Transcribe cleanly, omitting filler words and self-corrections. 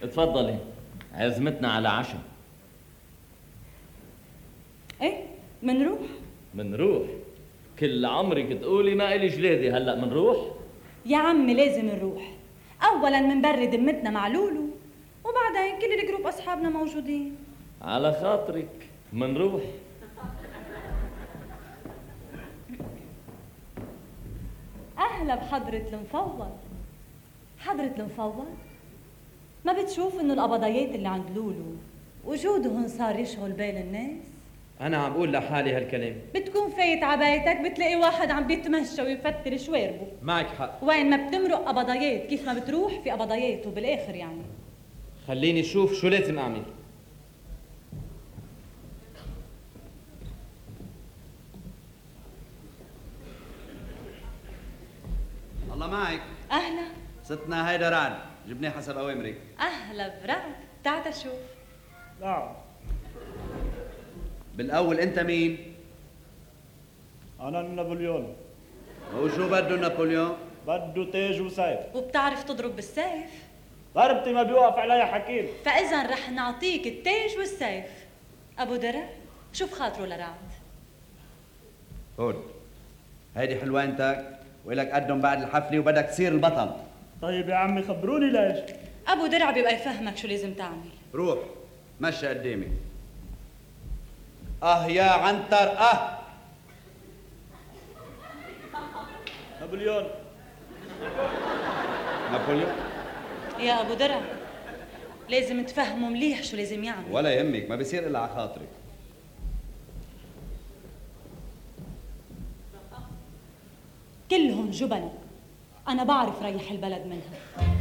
تفضلي، عزمتنا على عشاء. ايه منروح. منروح؟ كل عمرك تقولي ما إلي جلادي، هلأ منروح؟ يا عمي لازم نروح. اولا منبرد ذمتنا مع لولو، وبعدين كل الجروب اصحابنا موجودين. على خاطرك منروح. اهلا بحضرة المفوض. حضرة المفوض، ما بتشوف انه القبضيات اللي عند لولو وجودهم صار يشغل بال الناس؟ أنا عم أقول لحالي هالكلام. بتكون فايت عبايتك بتلاقي واحد عم بيتمشى ويفتر شواربه. معك حق. وين ما بتمرق قبضيات، كيف ما بتروح في قبضيات، وبالاخر يعني خليني أشوف شو لازم أعمل. الله معك. اهلا. ستنا هيدا رعد، جبناه حسب أوامرك. اهلا برعد، تعال شوف. نعم. بالأول أنت مين؟ أنا نابليون. وشو بده نابليون؟ بده تاج وسيف. وبتعرف تضرب بالسيف؟ ضربتي ما بيوقف عليها حكيم. فاذا رح نعطيك التاج والسيف. ابو درع شوف خاطره لرعد. هون هيدي حلوانتك وإلك قدم بعد الحفلة وبدك تصير البطل. طيب يا عمي خبروني ليش. ابو درع بيبقى يفهمك شو لازم تعمل. روح مشي قدامي. يا عنتر نابليون. نابليون؟ يا ابو درع لازم تفهمه مليح شو لازم يعمل. ولا يهمك، ما بصير إلا على خاطرك. كلهم جبنة، أنا بعرف ريح البلد منها.